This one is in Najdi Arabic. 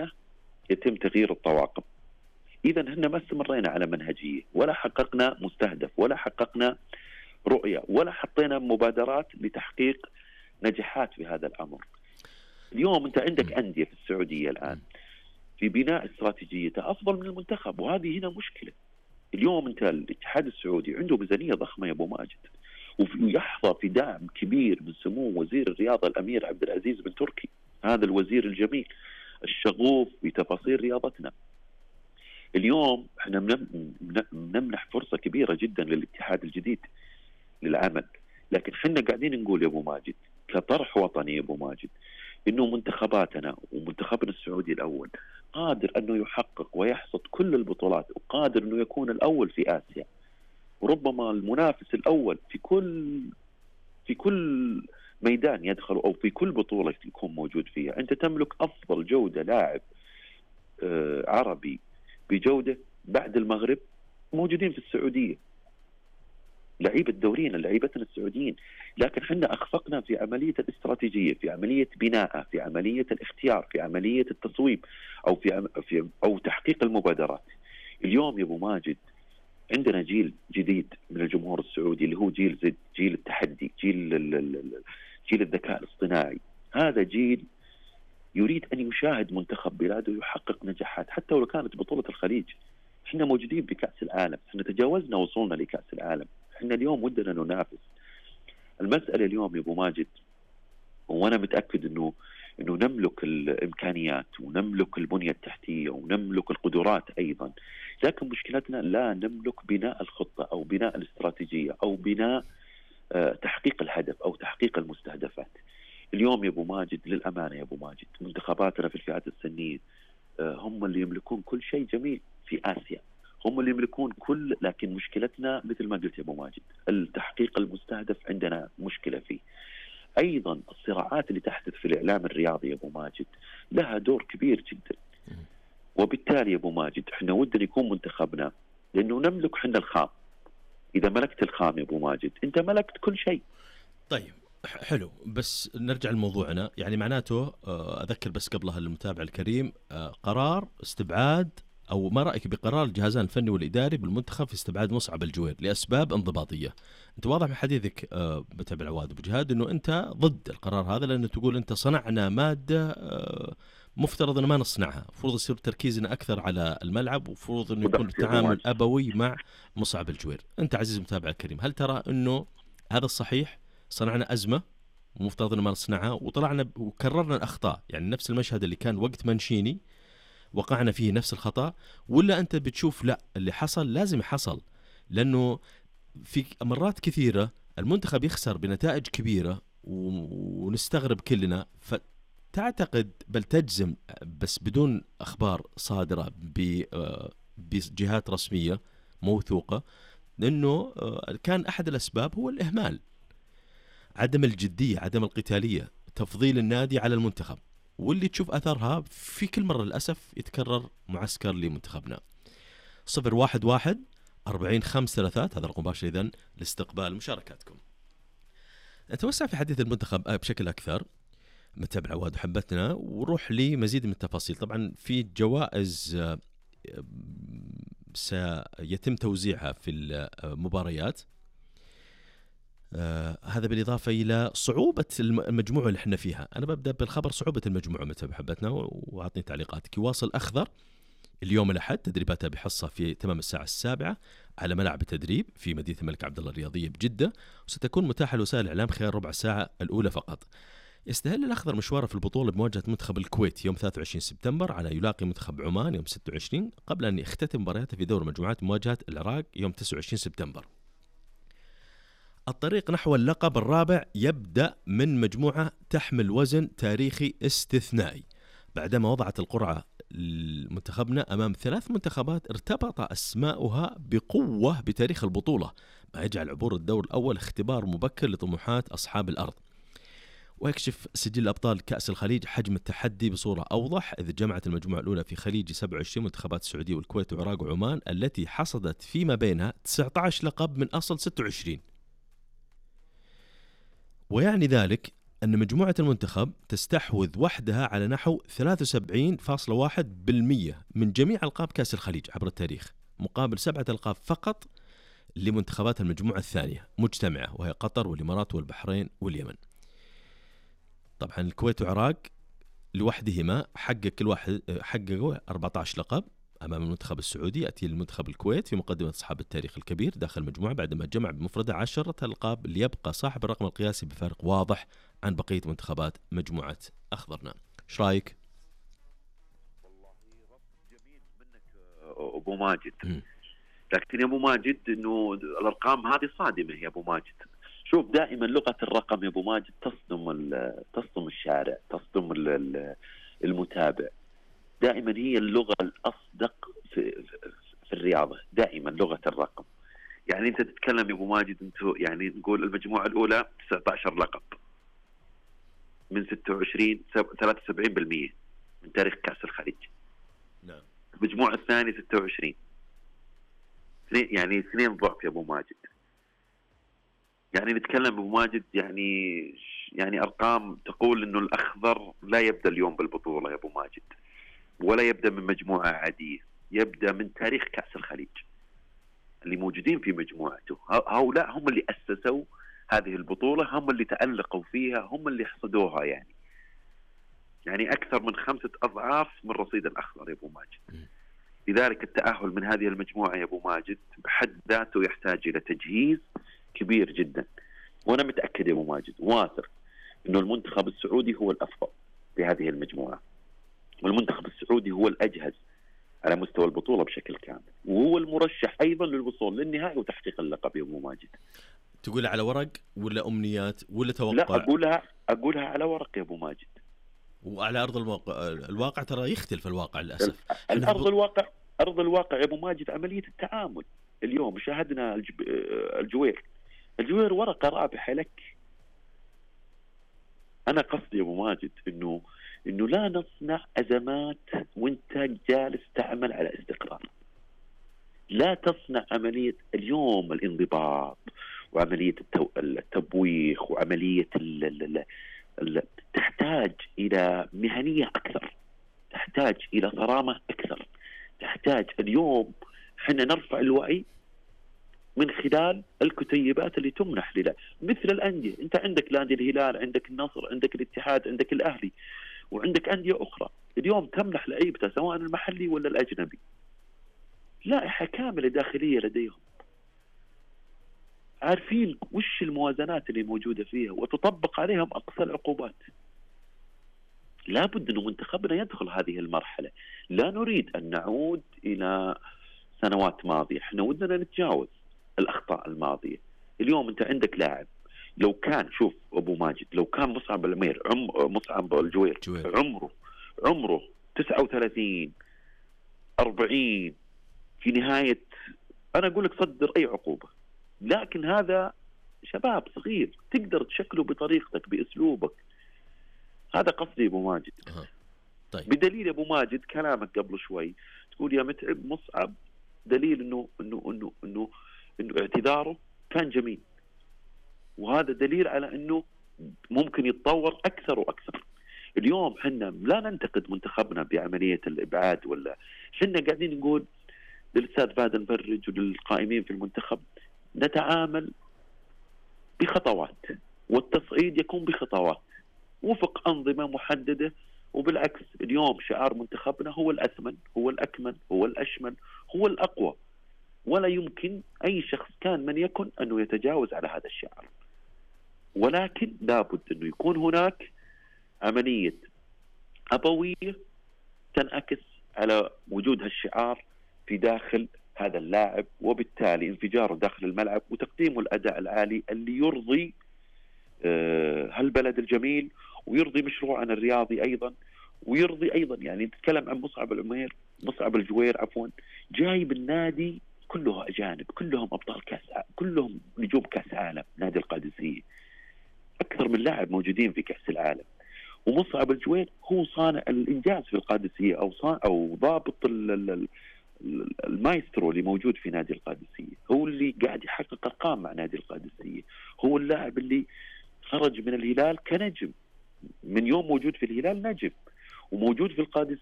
أنه يتم تغيير الطواقم. إذا هن ما استمرينا على منهجية، ولا حققنا مستهدف، ولا حققنا رؤية، ولا حطينا مبادرات لتحقيق نجاحات في هذا الأمر. اليوم أنت عندك أندية في السعودية الآن في بناء استراتيجيته أفضل من المنتخب، وهذه هنا مشكلة. اليوم أنت الاتحاد السعودي عنده ميزانية ضخمة يا أبو ماجد، ويحظى في دعم كبير من سمو وزير الرياضة الأمير عبد العزيز بن تركي، هذا الوزير الجميل الشغوف بتفاصيل رياضتنا. اليوم احنا بنمنح فرصة كبيرة جدا للاتحاد الجديد للعمل، لكن احنا قاعدين نقول يا أبو ماجد كطرح وطني يا أبو ماجد إنه منتخباتنا ومنتخبنا السعودي الأول قادر أنه يحقق ويحصد كل البطولات، وقادر أنه يكون الأول في آسيا، وربما المنافس الأول في كل ميدان يدخل أو في كل بطولة يكون موجود فيها. أنت تملك أفضل جودة لاعب عربي بجودة بعد المغرب موجودين في السعودية، لعيبة دورينا لعيبتنا السعوديين، لكن حنا أخفقنا في عملية الاستراتيجية، في عملية بناء، في عملية الاختيار، في عملية التصويب، أو تحقيق المبادرات. اليوم يا أبو ماجد عندنا جيل جديد من الجمهور السعودي اللي هو جيل زد، جيل التحدي، جيل الذكاء الاصطناعي. هذا جيل يريد أن يشاهد منتخب بلاده يحقق نجاحات حتى ولو كانت بطولة الخليج. احنا موجودين بكأس العالم، احنا تجاوزنا وصولنا لكأس العالم، احنا اليوم ودنا ننافس. المسألة اليوم يا أبو ماجد، وأنا متأكد إنه نملك الإمكانيات ونملك البنية التحتية ونملك القدرات أيضا، لكن مشكلتنا لا نملك بناء الخطة أو بناء الاستراتيجية أو بناء تحقيق الهدف أو تحقيق المستهدفات. اليوم يا أبو ماجد للأمانة يا أبو ماجد منتخباتنا في الفئات السنية هم اللي يملكون كل شيء جميل في آسيا، هم اللي يملكون لكن مشكلتنا مثل ما قلت يا أبو ماجد التحقيق المستهدف عندنا مشكلة فيه. أيضا الصراعات اللي تحدث في الإعلام الرياضي يا أبو ماجد لها دور كبير جدا، وبالتالي يا أبو ماجد احنا ودنا يكون منتخبنا لأنه نملك حنا الخام. إذا ملكت الخام يا أبو ماجد أنت ملكت كل شيء. طيب حلو، بس نرجع لموضوعنا. يعني معناته أذكر بس قبلها المتابع الكريم قرار استبعاد، أو ما رأيك بقرار الجهازان الفني والإداري بالمنتخب في استبعاد مصعب الجوير لأسباب انضباطية؟ أنت واضح من حديثك متابع العواد أبو جهاد أنه أنت ضد القرار هذا، لأنه تقول أنت صنعنا مادة مفترض أن ما نصنعها، مفروض يصير تركيزنا أكثر على الملعب، ومفروض أنه يكون التعامل أبوي مع مصعب الجوير. أنت عزيز متابع الكريم، هل ترى أنه هذا الصحيح؟ صنعنا أزمة ومفترض أن ما نصنعها، وطلعنا وكررنا الأخطاء، يعني نفس المشهد اللي كان وقت منشيني وقعنا فيه نفس الخطأ، ولا أنت بتشوف لا اللي حصل لازم يحصل؟ لأنه في مرات كثيرة المنتخب يخسر بنتائج كبيرة ونستغرب كلنا، فتعتقد بل تجزم بس بدون أخبار صادرة بجهات رسمية موثوقة لأنه كان أحد الأسباب هو الإهمال، عدم الجدية، عدم القتالية، تفضيل النادي على المنتخب، واللي تشوف أثرها في كل مرة للأسف يتكرر معسكر لمنتخبنا. 011-40-533 هذا رقم مباشر إذن لاستقبال مشاركاتكم. نتوسع في حديث المنتخب بشكل أكثر متابع عواد وحبتنا، وروح لي مزيد من التفاصيل. طبعا في جوائز سيتم توزيعها في المباريات، هذا بالإضافة إلى صعوبة المجموعة اللي احنا فيها. أنا ببدأ بالخبر صعوبة المجموعة متابع حبتنا وأعطني تعليقاتك. يواصل أخضر اليوم الأحد تدريباتها بحصة في تمام الساعة 7 على ملعب التدريب في مدينة الملك عبدالله الرياضية بجدة، وستكون متاحة لوسائل الإعلام خلال ربع ساعة الأولى فقط. يستهل الأخضر مشواره في البطولة بمواجهة منتخب الكويت يوم 23 سبتمبر على يلاقي منتخب عمان يوم 26، قبل أن يختتم مبارياته في دور مجموعات مواجهة العراق يوم 29 سبتمبر. الطريق نحو اللقب الرابع يبدأ من مجموعة تحمل وزن تاريخي استثنائي، بعدما وضعت القرعة منتخبنا أمام 3 منتخبات ارتبط أسماؤها بقوة بتاريخ البطولة، ما يجعل عبور الدور الأول اختبار مبكر لطموحات أصحاب الأرض. ويكشف سجل أبطال كأس الخليج حجم التحدي بصورة أوضح، إذ جمعت المجموعة الأولى في خليج 27 منتخبات السعودية والكويت والعراق وعمان، التي حصدت فيما بينها 19 لقب من أصل 26. ويعني ذلك أن مجموعة المنتخب تستحوذ وحدها على نحو 73.1% من جميع ألقاب كأس الخليج عبر التاريخ، مقابل 7 ألقاب فقط لمنتخبات المجموعة الثانية مجتمعة، وهي قطر والإمارات والبحرين واليمن. طبعا الكويت والعراق لوحدهما حققوا 14 لقب أمام المنتخب السعودي. يأتي المنتخب الكويت في مقدمة أصحاب التاريخ الكبير داخل المجموعة بعدما جمع بمفرده 10 ألقاب، ليبقى صاحب الرقم القياسي بفارق واضح عن بقية منتخبات مجموعة أخضرنا. إيش رأيك؟ والله ربط جميل منك أبو ماجد. لكن يا أبو ماجد إنه الأرقام هذه صادمة يا أبو ماجد. شوف دائما لغة الرقم يا أبو ماجد تصدم الشارع، تصدم المتابع. دائما هي اللغة الأصدق في الرياضة، دائما لغة الرقم. يعني أنت تتكلم يا أبو ماجد، أنت يعني نقول المجموعة الأولى 19 لقب من 26 73% من تاريخ كأس الخليج. نعم. المجموعة الثانية 26، يعني 2 ضعف يا أبو ماجد. يعني نتكلم أبو ماجد يعني أرقام تقول إنه الأخضر لا يبدأ اليوم بالبطولة يا أبو ماجد، ولا يبدأ من مجموعة عادية، يبدأ من تاريخ كأس الخليج. اللي موجودين في مجموعته هؤلاء هم اللي أسسوا هذه البطولة، هم اللي تألقوا فيها، هم اللي حصدوها. يعني أكثر من 5 أضعاف من رصيد الأخضر يا أبو ماجد. لذلك التأهل من هذه المجموعة يا أبو ماجد بحد ذاته يحتاج إلى تجهيز كبير جدا. وأنا متأكد يا أبو ماجد واثق إنه المنتخب السعودي هو الأفضل في هذه المجموعة، والمنتخب السعودي هو الأجهز على مستوى البطولة بشكل كامل، وهو المرشح أيضا للوصول للنهائي وتحقيق اللقب يا أبو ماجد. تقول على ورق ولا أمنيات ولا توقع؟ لا، أقولها على ورق يا أبو ماجد. وعلى أرض الواقع ترى يختلف الواقع للأسف. أرض الواقع يا أبو ماجد عملية التعامل. اليوم شاهدنا الجوير ورقة رابحة لك. أنا قصدي يا أبو ماجد إنه لا نصنع أزمات وانت جالس تعمل على استقرار. لا تصنع عملية اليوم الانضباط وعملية التبويخ وعملية تحتاج إلى مهنية أكثر، تحتاج إلى صرامة أكثر، تحتاج اليوم حنا نرفع الوعي من خلال الكتيبات اللي تمنح لنا مثل الأندية. أنت عندك نادي الهلال، عندك النصر، عندك الاتحاد، عندك الأهلي، وعندك أندية أخرى اليوم تمنح لعيبتها سواء المحلي ولا الأجنبي لائحة كاملة داخلية لديهم، عارفين وش الموازنات اللي موجودة فيها وتطبق عليهم أقصى العقوبات. لابد أن منتخبنا يدخل هذه المرحلة. لا نريد أن نعود إلى سنوات ماضية، احنا ودنا نتجاوز الأخطاء الماضية. اليوم أنت عندك لاعب لو كان، شوف أبو ماجد، لو كان مصعب العمير مصعب الجوير عمره 39 40 في نهاية، أنا أقول لك صدر أي عقوبة. لكن هذا شباب صغير تقدر تشكله بطريقتك بأسلوبك. هذا قصدي أبو ماجد. طيب. بدليل أبو ماجد كلامك قبل شوي تقول يا متعب مصعب، دليل إنه اعتذاره كان جميل، وهذا دليل على إنه ممكن يتطور أكثر وأكثر. اليوم حنا لا ننتقد منتخبنا بعملية الإبعاد، ولا حنا قاعدين نقول للأستاذ فهد المفرج وللقائمين في المنتخب نتعامل بخطوات، والتصعيد يكون بخطوات وفق أنظمة محددة. وبالعكس اليوم شعار منتخبنا هو الأثمن، هو الأكمل، هو الأشمل، هو الأقوى، ولا يمكن أي شخص كان من يكن أنه يتجاوز على هذا الشعار. ولكن لابد أنه يكون هناك عملية أبوية تنعكس على وجود هالشعار في داخل هذا اللاعب، وبالتالي انفجاره داخل الملعب وتقديمه الأداء العالي اللي يرضي هالبلد الجميل ويرضي مشروعنا الرياضي أيضا، ويرضي أيضا يعني نتكلم عن مصعب الجوير جاي بالنادي كله أجانب، كلهم أبطال كأس، كلهم نجوم كأس عالم. نادي القادسية أكثر من لاعب موجودين في كأس العالم، ومصعب الجوير هو صانع الإنجاز في القادسية أو ضابط المايسترو اللي موجود في نادي القادسية، هو اللي قاعد يحقق أرقام مع نادي القادسية، هو اللاعب اللي خرج من الهلال كنجم، من يوم موجود في الهلال نجم، وموجود في القادسية